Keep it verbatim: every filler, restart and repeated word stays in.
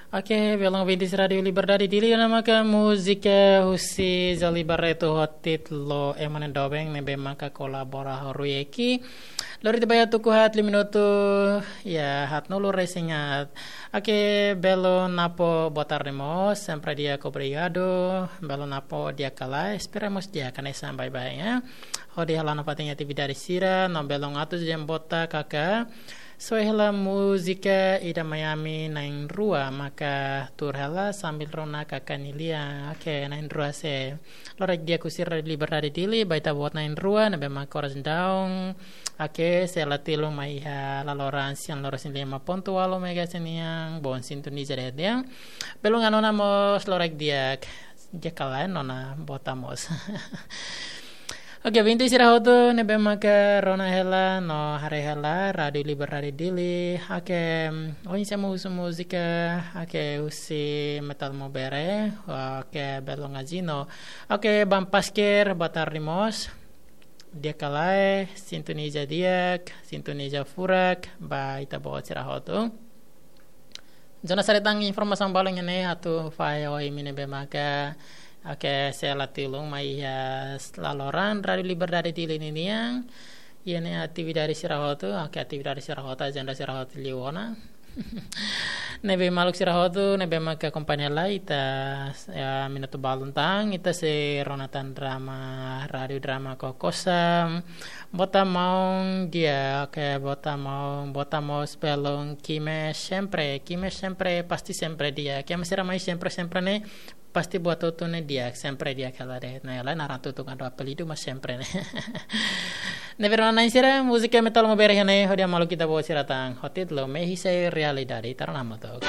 Oke, belun ouvintes Rádiu Liberdade Dili, ne'e maka múzika husi Joely Barreto ho títulu Ema nia Doben ne'ebé maka kolabora ho Rui Eki. Lori tiha ba iha tuku haat, liu minutu, ya, haat nulu resin haat. Oke, belun Napo, boa tarde mós, sempre di'ak, obrigadu. Belun Napo, di'ak ka lae? Espera mós di'ak, hanesan baibain, ya. Hodi hala'o nafatin atividade sira, no belun Atus Jembota Kaka. Soe hela múzika ida mai ami na'in-rua, maka tuur hela sambil rona Kaka nia lian. Oke, na'in-rua, sei lorokraik di'ak husi Rádiu Liberdade Dili ba ita-boot na'in-rua ne'ebé maka oras daudaun, oke, sei la tilun mai iha laloran sian loro sin lima pontu walu megahertz nian, bom sintoniza de'it. Belun Anona mós lorokraik di'ak, di'ak ka lae Nona, boa tarde mós. Oke, ouvinte sira hotu ne'ebé maka rona hela no haree hela Rádiu Liberdade Dili. Oke, oinsá mós husu múzika, oke, husi Metal Maubere, oke, belun Azino. Oke, Bam Pasker, boa tarde mós. Di'ak ka lae, sintoniza di'ak, sintoniza furak ba ita-boot sira hotu. Jonas, haree tan informasaun balun iha ne'e atu fahe ho imi ne'ebé maka, oke, sei la tilun mai iha laloran Rádiu Liberdade Dili ninian. Iha ne'e atividade sira hotu, oke, atividade sira hotu, ajenda sira hotu liu ona. Ne'ebé maluk sira hotu ne'ebé maka akompaña lai ita, ya, minutu balun tan, ita sei rona tan drama, rádiu drama Kokosa. Bota maun di'ak, oke, bota maun, bota mós belun Kime sempre, Kime sempre, pasti sempre di'ak. Kime sira mai sempre, sempre ne'e, pasti buat hotu ne'e di'ak, sempre di'ak hela de'it. Ne'e lae naran tutukan do apelidu, mas sempre ne'e. Ne'ebé rona na'in sira, múzika Metal Maubere iha ne'e, hodi hamaluk ita-boot sira tan ho títulu Mehi Sei Realidade, ita rona hamutuk.